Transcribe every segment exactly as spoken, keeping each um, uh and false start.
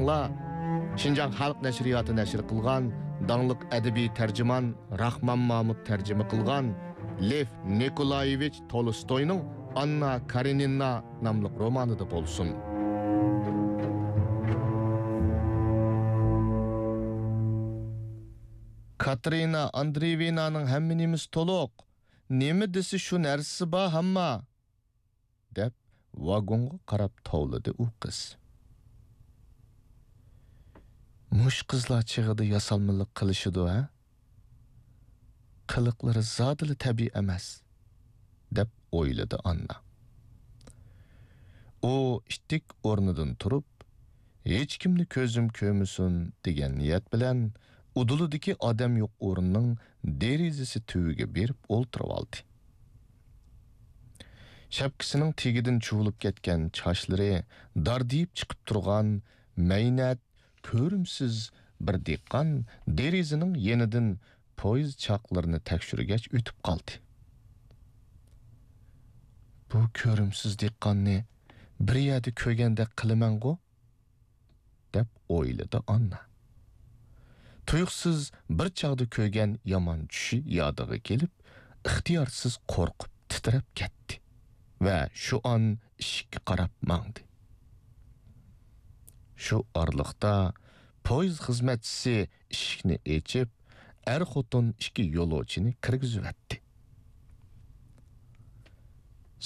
شىنجاڭ خەلق نەشرىياتى نەشر قىلغان داڭلىق ئەدەبىي تەرجىمان راخمان مامۇت تەرجىمە قىلغان لېف نىكولايېۋىچ تولستوينىڭ ئاننا كارېنىنا ناملىق رومانىدا بولسۇن. كاتېرىنا ئاندرېيېۋنانىڭ ھەممە نېمىسى تولۇق. نېمە دېسە شۇ نەرسىسى بار ھەمما. دەپ، ۋاگونغا قاراپ توۋلىدى ئۇ قىز. مۇشۇ قىزلار چېغىدا ياسالمىلىق قىلىشىدۇ، ھە؟ قىلىقلىرى زادىلا تەبىئىي ئەمەس، دەپ ئويلىدى ئاننا. ئۇ ئىتتىك ئورنىدىن تۇرۇپ، ھېچكىمنى كۆزۈم كۆرمىسۇن، دېگەن نىيەت بىلەن ئۇدۇلىدىكى ئادەم يوق ئورۇننىڭ دېرىزىسى تۈۋىگە بېرىپ ئولتۇرۇۋالدى. شەپكىسىنىڭ تېگىدىن چۇۋۇلۇپ كەتكەن چاچلىرى داردىيىپ چىقىپ تۇرغان مەينەت، كۆرۈمسىز بىر دېھقان دېرىزىنىڭ يېنىدىن پويىز چاقلىرىنى تەكشۈرگەچ ئۆتۈپ قالدى. بۇ كۆرۈمسىز دېھقاننى بىر يەردە كۆرگەندەك قىلىمەنغۇ؟ دەپ ئويلىدى ئاننا. تۇيۇقسىز بىر چاغدا كۆرگەن يامان چۈشى يادىغا كېلىپ، ئىختىيارسىز قورقۇپ تىترەپ كەتتى ۋە شۇ ئان ئىشىككە قاراپ ماڭدى. شۇ ئارىلىقتا پويىز خىزمەتچىسى ئىشىكنى ئېچىپ، ئەر-خوتۇن ئىككى يولۇچىنى كىرگۈزۈۋەتتى.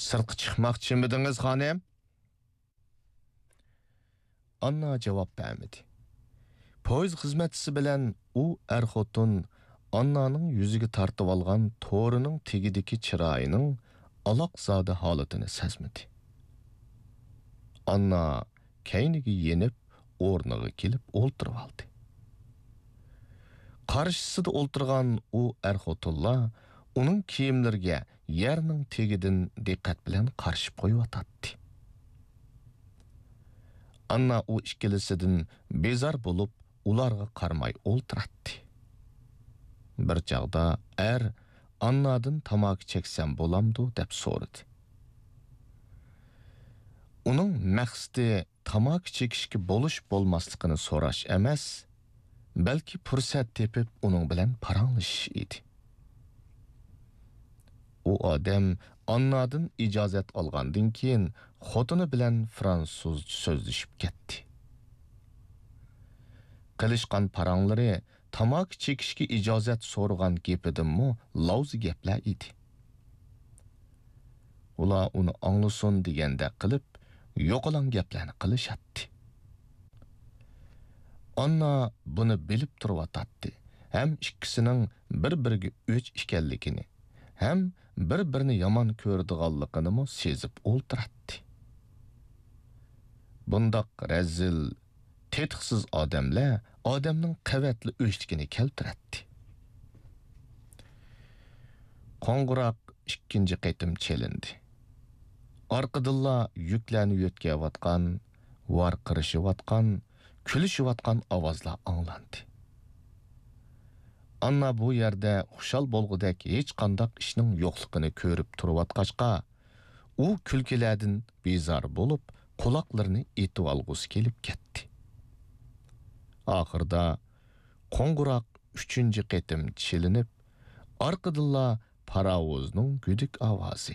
سىرتقا چىقماقچىمىدىڭىز، خانىم؟ ئاننا جاۋاب بەرمىدى. پويىز خىزمەتچىسى بىلەن ئۇ ئەر-خوتۇن ئاننانىڭ يۈزىگە تارتىۋالغان تورىنىڭ تېگىدىكى چىرايىنىڭ ئالاقزادە ھالىتىنى سەزمىدى. ئاننا كەينىگە يېنىپ، ئورنىغا كېلىپ ئولتۇرۇۋالدى. قارشىسىدا ئولتۇرغان ئۇ ئەر-خوتۇنلار ئۇنىڭ كىيىملىرىگە يەرنىڭ تېگىدىن دىققەت بىلەن قارىشىپ قويۇۋاتاتتى. ئاننا ئۇ ئىككىلىسىدىن بىزار بولۇپ، ئۇلارغا قارىماي ئولتۇراتتى. بىر چاغدا ئەر ئاننادىن تاماكا چەكسەم بولامدۇ دەپ سورىدى. ئۇنىڭ مەقسىتى تاماكا چېكىشكە بولۇش-بولماسلىقىنى سوراش ئەمەس، بەلكى پۇرسەت تېپىپ ئۇنىڭ بىلەن پاراڭلىشىش ئىدى. ئۇ ئادەم ئاننادىن ئىجازەت ئالغاندىن كېيىن خوتۇنى بىلەن فرانسۇزچە سۆزلىشىپ كەتتى. قىلىشقان پاراڭلىرى تاماكا چېكىشكە ئىجازەت سورىغان گېپىدىنمۇ لاۋزا گەپلەر ئىدى. ئۇلار ئۇنى ئاڭلىسۇن دېگەندەك قىلىپ، يوقىلاڭ گەپلەرنى قىلىشاتتى. ئاننا بۇنى بىلىپ تۇرۇۋاتاتتى ھەم ئىككىسىنىڭ بىر-بىرىگە ئۆچ ئىكەنلىكىنى، ھەم بىر-بىرىنى يامان كۆرىدىغانلىقىنىمۇ سېزىپ ئولتۇراتتى. بۇنداق رەزىل، تېتىقسىز ئادەملەر ئادەمنىڭ قەۋەتلا ئۆچلۈكىنى كەلتۈرەتتى. قوڭغۇراق ئىككىنچى قېتىم چېلىندى. ئارقىدىنلا يۈكلەرنى يۆتكەۋاتقان، ۋارقىرىشىۋاتقان، كۈلۈشۈۋاتقان ئاۋازلار ئاڭلاندى. ئاننا بۇ يەردە خۇشال بولغۇدەك ھېچقانداق ئىشنىڭ يوقلۇقىنى كۆرۈپ تۇرۇۋاتقاچقا، ئۇ كۈلكىلەردىن بىزار بولۇپ، قۇلاقلىرىنى ئېتىۋالغۇسى كېلىپ كەتتى. ئاخىرىدا قوڭغۇراق ئۈچىنچى قېتىم چېلىنىپ، ئارقىدىنلا پاراۋۇزنىڭ گۈدۈك ئاۋازى،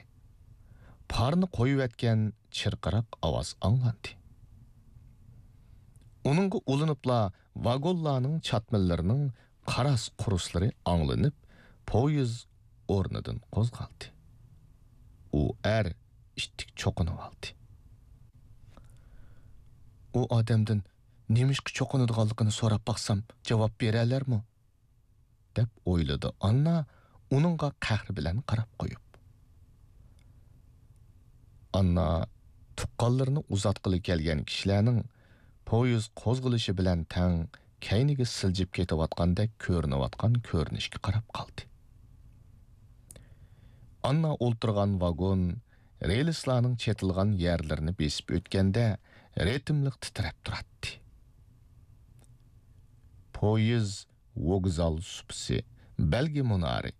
پارنى قويۇۋەتكەن چىرقىراق ئاۋاز ئاڭلاندى. ئۇنىڭغا ئۇلىنىپلا ۋاگونلارنىڭ چاتمىلىرىنىڭ قاراس-قۇرۇسلىرى ئاڭلىنىپ، پويىز ئورنىدىن قوزغالدى. ئۇ ئەر ئىتتىك چوقۇنۇۋالدى. ئۇ ئادەمدىن نېمىشقا چوقۇنىدىغانلىقىنى سوراپ باقسام، جاۋاب بېرەلەرمۇ؟ دەپ ئويلىدى ئاننا، ئۇنىڭغا قەھرى بىلەن قاراپ قويۇپ. ئاننا تۇغقانلىرىنى ئۇزاتقىلى كەلگەن كىشىلەرنىڭ پويىز قوزغىلىشى بىلەن تەڭ كەينىگە سىلجىپ كېتىۋاتقاندەك كۆرۈنۈۋاتقان كۆرۈنۈشكە قاراپ قالدى. ئاننا ئولتۇرغان ۋاگون رېلىسلارنىڭ چېتىلغان يەرلىرىنى بېسىپ ئۆتكەندە رىتىملىق تىترەپ تۇراتتى. پويىز ۋوگزال سۇپىسى، بەلگە مۇنارى،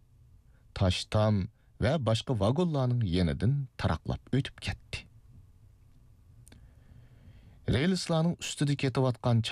تاش تام ۋە باشقا ۋاگونلارنىڭ يېنىدىن تاراقلاپ ئۆتۈپ كەتتى. رېلىسلارنىڭ ئۈستىدە كېتىۋاتقان